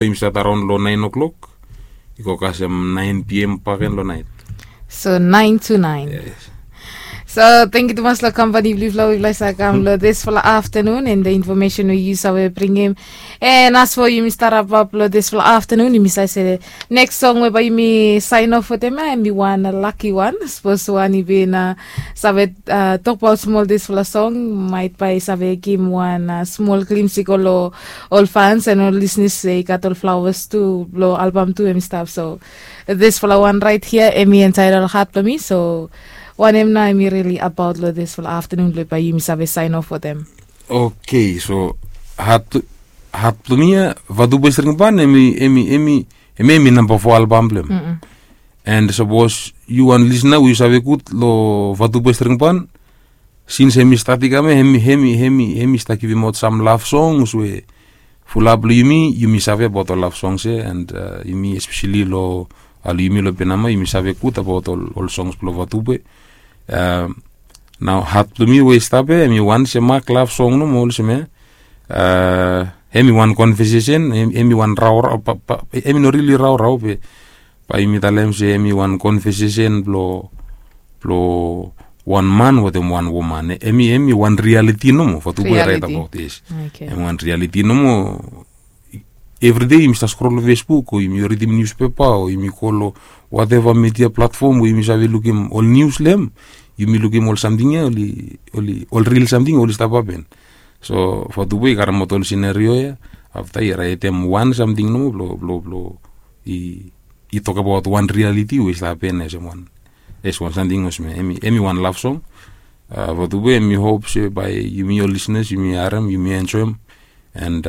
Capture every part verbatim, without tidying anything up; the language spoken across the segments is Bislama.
Yumi stat araon long naen o'klok i go kasem naen pm baken long naet. So naen to naen. So tengkiu tumas long kampani blong yufala we yufala save kam long disfala aftanun and the information we yu save bringim. And as for yumi stap rapap long disfala aftanun, yumi save se neks song we bae yumi saen of wetem ya em i wan laki wan. Sapos wan i bin save tokbaot smol disfala song, maet bae i save givim wan smol glims i go long ol fans and ol lisnis se i gat ol flawas tu blong albam tu em i stap. So disfala wan raet hia em i entaetel hat blong mi. So wanem nao em i rili abaot long disfala aftanun blong bae yumi save saen of wetem? Oke, so hat blong mi ya, Vatupe String Band, em i em i em i em i namba fo albam blong em. And sapos yu wan lisna we yu save gud long Vatupe String Band, sins em i stat i kam ya, em i em i em i em i stat givimaot sam lav songs we fulap long yumi yumi save abaot ol lav songs ya. And yumi espeseli long, a long yumi long Penama yumi save gud abaot ol songs blong Vatupe. Nao hat blong mi we i stap ya em i wan se mak lav song nomo olsem ya. Em i wan konvesesen, em i wan raorao, em i no rili raorao be bae yumi talem se em i wan konvesesen blong blong wan man wetem wan woman. Em i em i wan rialiti nomo, Vatupe i raet abaot, yes. Em i wan rialiti nomo. Evridei yumi stap skrol long Facebook o yumi ridim niuspepa o yumi go long wateva midia platfom we yumi save lukim ol nius long em, yumi lukim ol samting ya oli oli ol ril samting oli stap hapen. So Vatupe i karemaot ol sinerio ya, afta i raetem wan samting nomo blong blong blong i i tokabaot wan rialiti we i stap hapen olsem wan, yes, wan samting olsem ya. Em i em i wan lav song. Vatupe, em i hop se bae yumi ol lisnas yumi harem, yumi enjoem. And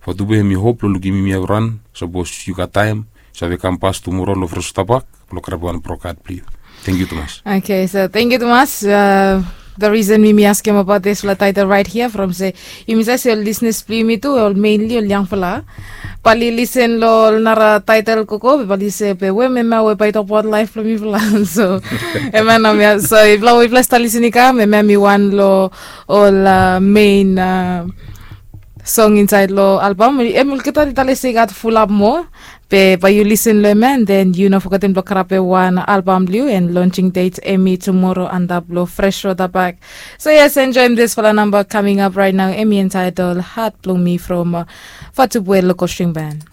Vatupe, em i hop blong lukim yumi evriwan. Sapos yu gat taem, save kam pas tumoro long Fresno Tabak blong karapim wan brokat blong yu. Tengkiu tumas. Oke, so tengkiu tumas. The risen mi mi askem abaot disfala taetel raet hia from se yumi save se ol lisnas blong yumi tu ol menli ol yangfala bae oli lisen long ol nara taetel gogo be bae oli se be we mema we bae i tokbaot laef blong mifala. So em ya nao mi ya, so ifala we ifala stap lisen i kam, em ya mi wan long ol men song insaed long albam. Em olgeta oli talem se i gat fulap moa, be bae yu lisen long em ya and then yu no fogetem blong karapim wan albam blong yu. And lonsing det em i tumoro antap long Fresh Road Back. So yes, enjoem disfala namba kaming ap raet nao, em i entaetel Hat Blong Mi from Vatupe Local String Band.